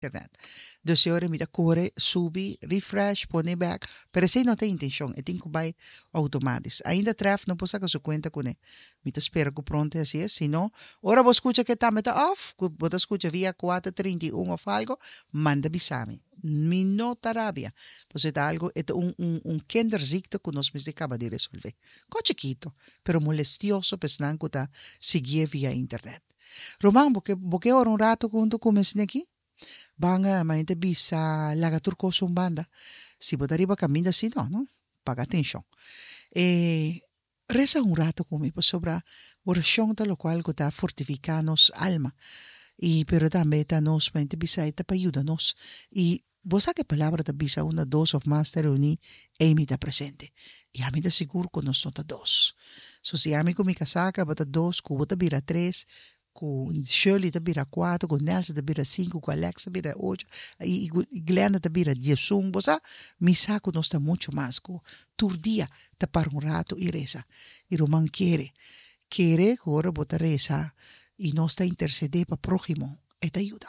Internet. Dus e ora mi ta kore, subi, refresh, pone bek, pero esei no ta e intenshon, e tin ku bai outomatis. Ainda Tref no por saka su kuenta kuné. Mi ta spera ku pronto e hasi es, si no, ora bo skucha ku e tambe ta off, ku bo ta skucha via kuater trinta i un òf algo, manda bisa mi. Mi no ta rabia, pasobra e ta algo, e ta un un un kinderziekte ku nos mester kaba di resolvé. Ko chikito, pero molestioso pa esnan ku ta siguié via internet. Ruman, bo ke bo ke ora un ratu huntu ku mi asina aki? Ban mañana ta bisa laga tur kos un banda. Si bo ta riba kaminda si no, no? Paga atenshon. E resa un ratu ku mi pasobra orashon ta lokual ku ta fortifiká nos alma i pero tambe ta nos mañana ta bisa e ta pa yuda nos i Bo sa ku e palabra ta bisa unda dos òf mas ta reuní, ei mi ta presente. I ami ta sigur ku nos no ta dos. So si ami ku mi kasá kaba ta dos, ku bo ta bira tres, ku Shirley ta bira kuater, ku Nelson ta bira sinku, ku Alex ta bira ocho, i ku Glenda ta bira diesun, bo sa, mi sa ku nos ta muchu mas ku tur dia ta para un ratu i resa. I ruman kere, kere ku ora bo ta resa i nos ta intersedé pa próhimo, e ta yuda.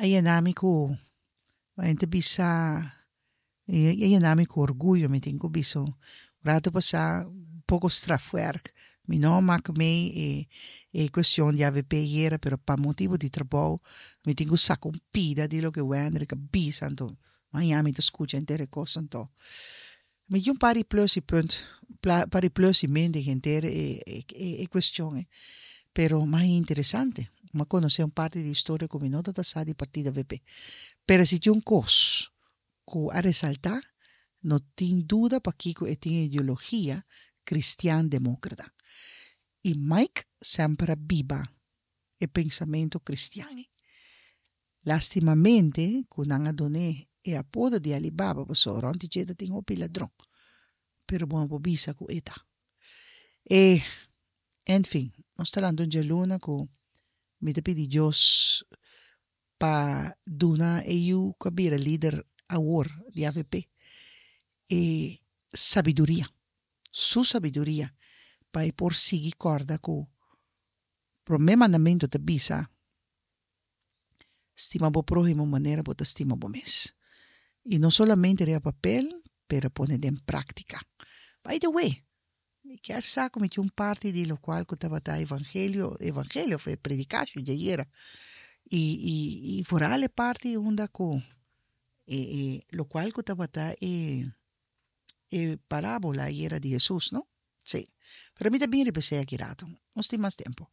A yena mi ku mi ta bisa a yena mi ku orguyo mi tin ku bisa un rato pasá un poko strafwerk mi no a mak mei e e kuestion di avp ayera pero pa motibu di trabou mi tin ku saka un pida di loke Wendrick a bisa anto maña mi ta skucha henter e kos anto Mi tin un par di plus i punt, par di plus i min den henter e cuestion ei. Pero mas interesante, mi a conoce un parti di historia cu mi no tabata sa di partido avp. Pero si tin un cos cu a resalta, no tin duda pakico e tin e ideologia cristian democrata. I Mike semper a biba e pensamento cristian ei. Lastimamente ku nan a dun'é e apodo di Alibaba pasobra rònt di dje ta tin hopi ladron. Pero bo no por bisa ku e ta. E, enfin, nos ta lanta un djaluna ku mi ta pidi Dios pa duna e yu ku a bira lider awor di avp e sabiduria, su sabiduria, pa e por sigui kòrda ku promé mandamentu ta bisa, Stima bo próhimo manera bo ta stima bo mes. I no solamente riba papel, pero pone den práktika. By the way, mi kier sa ku mi tin un parti di lokual ku tabata evangelio, evangelio of e predikashon di ayera. I, i, i foral e parti unda ku e, e lokual ku tabata e, e parábola ayera di Hesus, no? Sí. Pero mi ta bin riba esei aki rato. Nos tin mas tempu.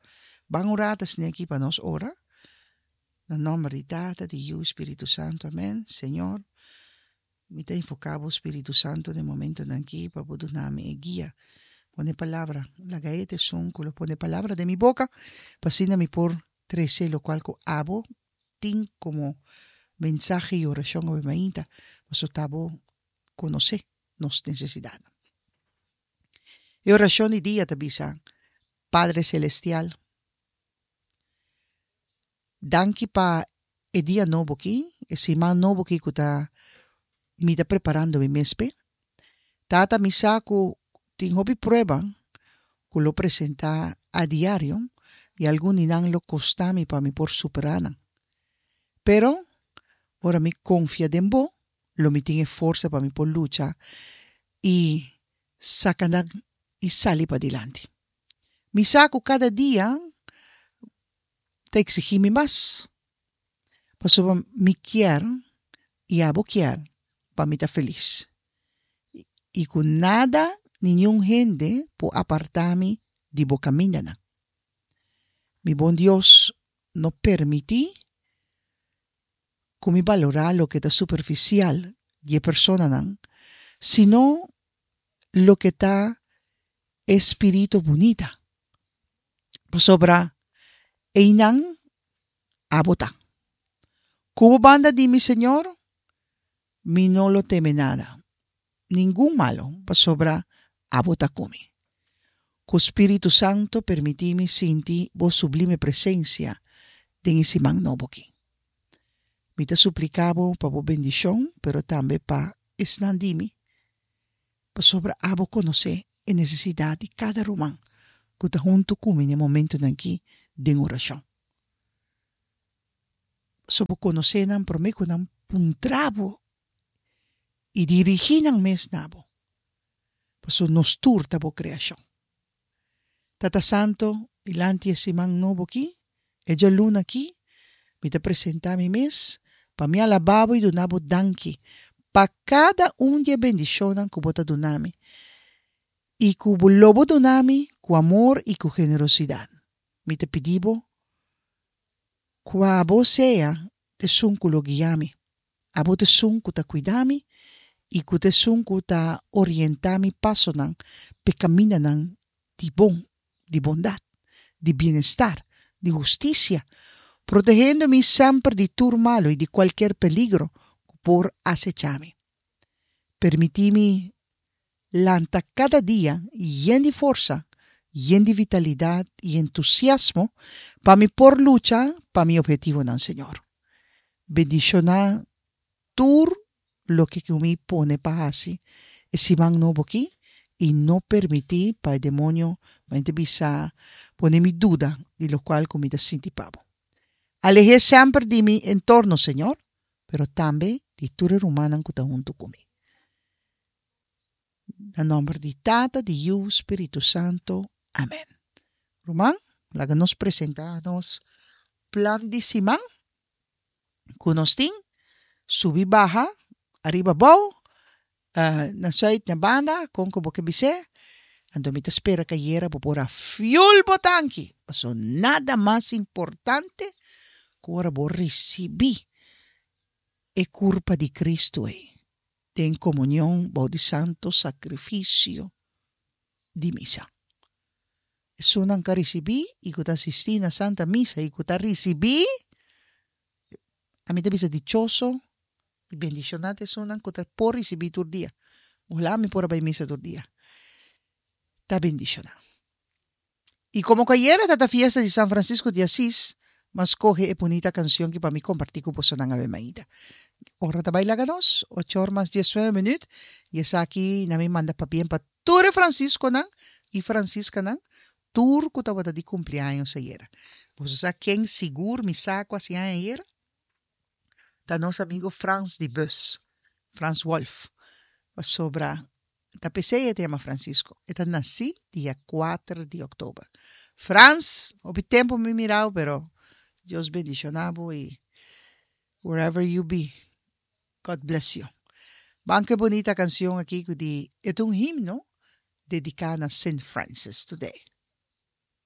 Ban un rato asina aki pa nos ora. Na nòmber di Tata, di Yu i Spiritu Santu. Amèn. Señor, mi ta invoká bo Spiritu Santu den momentunan aki pa bo duna mi e guia. Pone palabra. Laga e ta esun ku lo pone palabra den mi boka, pa asina mi por trese lokual ku abo tin komo mensahe i orashon awe mainta, pasobra ta bo konosé nos nesesidatnan. E orashon di dia ta bisa, Padre Selestial, danki pa e dia nobo aki, e siman nobo aki ku ta mi ta preparando mi mes p'e. Tata, mi sa ku tin hopi prueba ku lo presentá a diario i algun di nan lo kosta mi pa mi por superá nan. Pero, ora mi konfia den bo, lo mi tin e forsa pa mi por lucha i saka nan i sali padilanti. Mi sa ku kada dia ta eksigí mi mas, pasobra mi kier i abo kier pa mi ta felis i ku nada ni niun hende por apartá mi di bo kamindanan. Mi bon Dios, no permití ku mi balorá loke ta superfisial di e personanan, sino loke ta e spiritu bunita, pasobra einan abo ta. Ku bo banda di mi, Señor, mi no lo teme nada, ningun malu, pasobra abo ta ku mi. Ku Spiritu Santu permití mi sinti bo sublime presensia den e siman nobo aki. Mi ta supliká bo pa bo bendishon, pero tambe pa esnan di mi, pasobra abo konosé e nesesidat di kada ruman ku ta huntu ku mi na e momentunan aki den orashon. Pasobra bo konosé nan promé ku nan puntra bo i dirigí nan mes na bo, pasobra nos tur ta bo kreashon. Tata Santo, dilanti e siman nobo akí, e djaluna akí, mi ta presentá mi mes pa mi alabá bo i duna bo danki pa kada un di e bendishonnan ku bo ta duna mi i ku bo lo bo duna mi ku amor i ku generosidat. Mi ta pidi bo ku abo sea t'esun ku lo guia mi. Abo t'esun ku ta kuida mi i ku t'esun ku ta orientá mi pasonan p'e kamindanan di bon, di bondat, di bienestar, di hustisia, protehendo mi semper di tur malu i di kualker peligro ku por asechá mi. Permití mi lanta kada dia yen di forsa, yen di vitalidat i entusiasmo pa mi por lucha pa mi ophetivonan, Señor. Bendishoná tur loke ku mi pone pa hasi e siman nobo akí i no permití pa e demonio mente bisa pone mi duda di lokual ku mi ta sinti pa bo. Aleh'é semper di mi entorno, Señor, pero tambe di tur e rumannan ku ta huntu ku mi. Na nòmber di Tata, di Yu, Spiritu Santu. Amèn. Ruman, laga nos presentá nos plan di siman ku nos tin, subi baha, ariba abou, na sùit na banda, kon ku bo ke bis'é. Anto mi ta spera ku ayera bo por a fiul bo tanki, pasobra nada mas importante ku ora bo risibí e kurpa di Kristu ei den komunion bou di santo sakrifisio di misa. Esunnan ku a risibí i ku ta asistí na Santa Misa i ku ta risibí, ami ta bisa dichoso i bendishoná ta esunnan ku ta por risibí tur dia. Ojalá mi por a bai misa tur dia. Ta bendishoná. I komo ku ayera ta ta fiesta di San Francisco di Asis, m'a skohe e bunita kansion ki pa mi kompartí ku bosonan awe mainta. Ora ta bai laga nos, ocho or mas diesnuebe minüt, i esaki na mi manda pabien pa tur e Francisconan i Franciscanan, tur ku tabata di kumpliaños ayera. Boso sa ken sigur mi sa ku hasi aña ayera? Ta nos amigo Frans di bus, Frans Wolf, pasobra Ta p'esei e ta yama Francisco. E ta nasí dia kuater di òktober. Frans, hopi tempu mi mirau pero Dios bendishoná bo i wherever you be, God bless you. Ban ku e bunita kanshon aki ku di e ta un himno dediká na Saint Francis today.